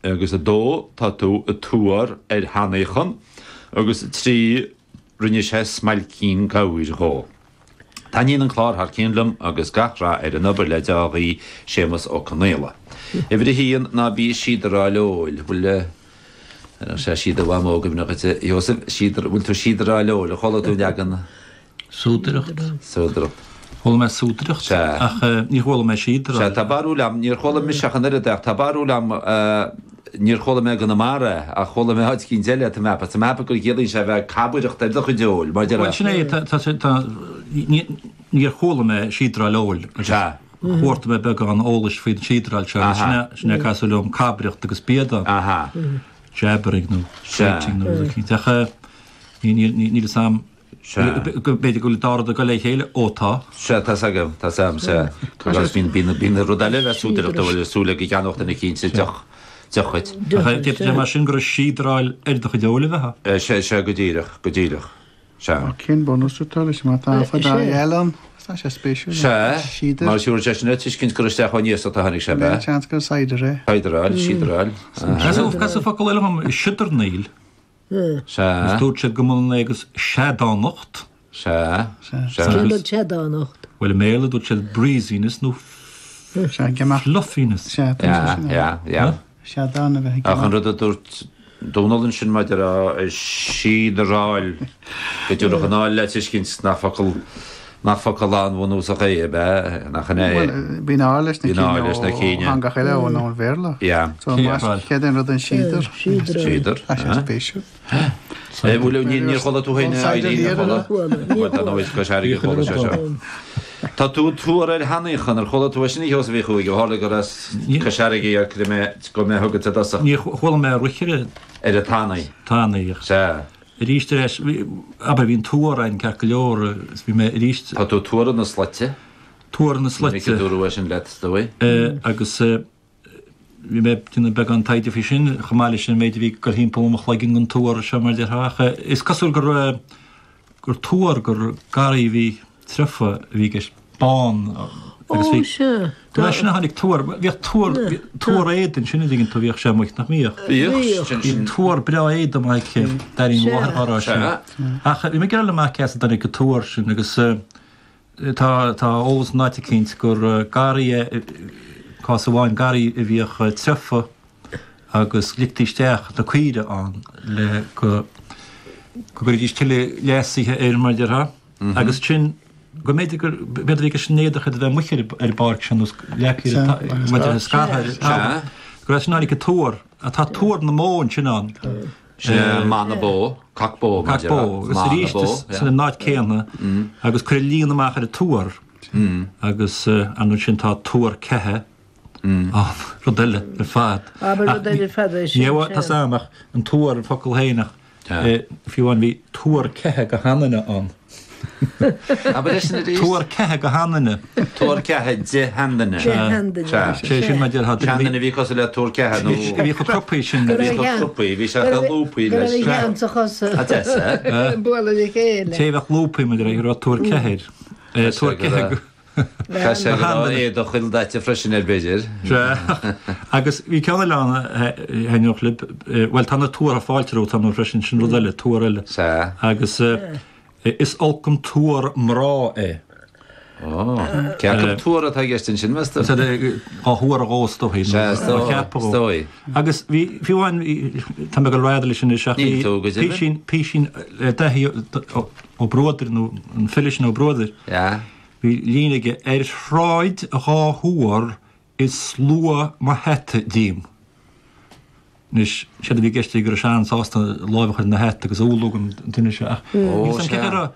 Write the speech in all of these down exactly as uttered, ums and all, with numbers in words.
Agus a dó, tá tú ag tuar ar thanaíochan. Agus a trí, rinne sé smailcín gabhair dhó. Taitníonn an clár thar cionn liom agus gach rath ar an obair le dea-ghuí, Séamus Ó Conaola. Uimhir a haon, ná bí ag síodaráil óil. Bhfuil, ar sé síodar Mhamó i gcuimhne dhuit, a Sheosaimh? Síodar, bhfuil tú ag síodaráil óil? Ar chuala tú an leagan? Súdaireacht. Súdaireacht. Chuala mé súdaireacht, Sea. ach níor chuala mé síodaráil. Sea, tá barúil a'm, níor chuala mise ach an oiread ach tá barúil a'm, níor chuala mé i gConamara é, ach chuala mé áit eicínt eile, tá mé a'ceapadh, tá mé a'ceapadh gur chiallaíonn sé a bheith ag cabaireacht ar do chuid óil, mar Bhuel, déarfá. sin é, tá, tá, tá, ní, níor chuala mé síodaráil óil, agus Sea. chuartaigh mé beagán eolais faoin síodaráil seo, agus sin é, Aha. sin é casadh liom cabaireacht agus béadán. Aha. Jabbering nó Sea. fighting nó rud eicínt, ach ní, ní, ní, níl fhios a'm. Sea. Go b'fhéidir go bhfuil dá rud ag dul le chéile, ó tá. Sea, tá's agam, tá's agam, sea. Agus bíonn, bíonn, bíonn rud eile le súdaireacht a bhfuil súil ag ceannach duine eicínt deoch, deoch dhuit. Ach d'fhéadfadh sé mar sin gur síodaráil ar do chuid óil a bheadh ann. Sea, sea, go díreach, go díreach. Sea. Cén bunús atá leis má tá fada eile ann? Tá sé spéisiúil. Sea, Síodar. mar siúr sé sin le tuiscint gur isteach ón iasacht a tháinig sé, ab ea? Seans gur cider é. Cideráil, síodaráil. Casadh, casadh focal eile dhom, siodarnaíl. Sea. Agus dúirt siad go mb'ionann é agus seadánacht. Sea. Sea. Cén rud seadánacht? Bhuel, i mBéarla dúirt siad breeziness nó fluffiness. Sea, tá sé sin. Yeah, yeah. Seadán a bheith ag Ach an rud a dúirt Dónal ansin maidir le síodaráil, go dtabharfadh an áil le tuiscint nach focal Nach focal an-bhunúsach é, ab ea? Nach in é? Bhuel, bíonn áil leis na Bíonn áil leis na cinn ó cinn. theangacha eile ón ón Bhéarla. Yeah. So, más céard é an rud an síodar. Síodar. Tá sé spéisiúil. Eh, bhuel, ní- níor chuala tú féin, Ón cider Eileen, ar níor chuala? Bhuel, tá nó is Cois Fharraige a chuala sé seo. Tá tú ag tuar ar thanaíochan, ar chuala tú é sin, a Sheosaimh Uí Chuaig, ó tharla gur as Cois Fharraige ar cuireadh mé, go mé chugat i dtosach. Níor chuala mé roichire. Ar an tanaí. Tanaí. Sea. Arís ar ais, abair, bhí an tuar ann ceart go leor is bhí mé arís. Tá tú tuar na slaite. Tuar na slaite. Ní dúradh é sin leat, is dóigh. Agus bhí mé ag déanamh beagán taighde faoi sin, chomh maith leis an méid a bhí ag dul thimpeall mo chloigeann den tuar seo mar a déarfá ach is cosúil gur gur tuar gur garraí a bhí treofa a bhí i gceist, bán agus bhí Go leis sin a tháinig tuar, bhíodh tuar, tuar éadain ansin an dtuigeann tú, bhíodh sé amuigh, nach mbíodh? Bhíodh. Bhí tuar breá éadain amuigh aici, d'airínn mo mháthair dhá rá sin. Ach bhí mé ag iarraidh amach cé as a dtáinig an tuar sin agus tá, tá eolas in áit eicínt gur garraí é, cás amháin, garraí a bhíodh treofa agus ligtí isteach na caoire ann le go, go gcuirfidís tuilleadh leasaithe air mar a déarfá. Agus sin, go mb'fhéidir gur, b'fhéidir bhí an éadach a bheith amuigh ar an bpáirc sin nó leagtha ar an scartha ar an talamh. Gur as sin a tháinig an tuar. Tá tuar na mbó ansin ann. Sin meath na bó, cac bó mar Cac bó. Agus arís san an áit céanna agus cuireadh líon amach ar an tuar agus ansin tá tuar ceatha ann, rud eile ar fad. Abair rud eile ar fad é sin. Ní tá a fhios agam ach an tuar an focal féin ach Fiú amháin bhí tuar ceatha go sheanduine ann. Abair é sin arís. Tuar ceatha go sheanduine. Tuar ceatha de sheanduine. De sheanduine. Sea. Sé sin mar a déarfá. Seanduine a bhí cosúil le tuar ceatha nó. A bhí chomh cruptha sin. A bhí chomh cruptha, bhí sé chomh lúbtha Go leis. raibh a cheann sa chosa. A deas, eh? Bualadh le chéile. Té a bheadh lúbtha mar a déarfá, go raibh tuar ceatha air. Tuar ceatha go. Tá sé go raibh éadach ildaite freisin air b'fhéidir. Sea. Agus bhí ceann eile ann a thaitneodh libh. Bhuel, tá na tuartha fáilte romhat ann freisin, sin rud eile, tuar eile. Sea. Agus is olc an tuar mná é. Ó, cé acu tuar atá i gceist ansin, meas tú? Sea, dhá thuar dhó is dóigh. Sea, is Dhá cheapadh dóigh, dhó. is dóigh. Agus bhí, fiú amháin, tá mé ag dul rada leis anois ach bhí Níl tú, go deimhin. písín, písín le Daithí Ó Bruadair nó an file sin Ó Bruadair. Sea. Bhí líne aige, Ar shráid dhá thuar is lua mo hata díom. Anois, séard a bhí i gceist aige go raibh sé an-sásta lámh a chur ina hata agus umhlú don duine seo ach Ó, níl 's agam cé sea. raibh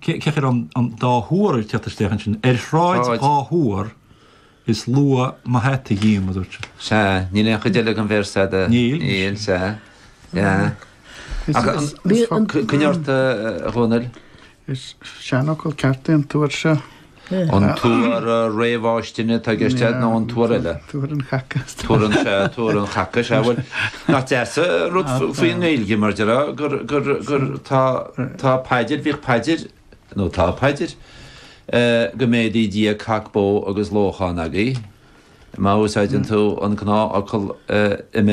cé cé raibh an an dá thuar ag teacht isteach ansin. Ar shráid Shráid. dhá thuar is lua mo hata dhíom, a dúirt sé. Sea, níl aon chuid eile den véarsa agat. Níl. Níl, sea. Yeah. Is- Ach is- an- is focal- Coinnigh ort, a Dhónaill. Is seanfhocal ceart é an tuar seo. An tuar réamhfháistine atá i gceist agat nó an tuar eile? Tuar an chaca. Tuar an sea, tuar an chaca, sea. Bhuel, nach deas an rud faoin nGaeilge mar déarfá gur, gur, gur tá, tá paidir, bhíodh paidir, nó tá paidir, go méadaí Dia cac bó agus lóchán agaibh. Má úsáideann tú an gnáthfhocal i.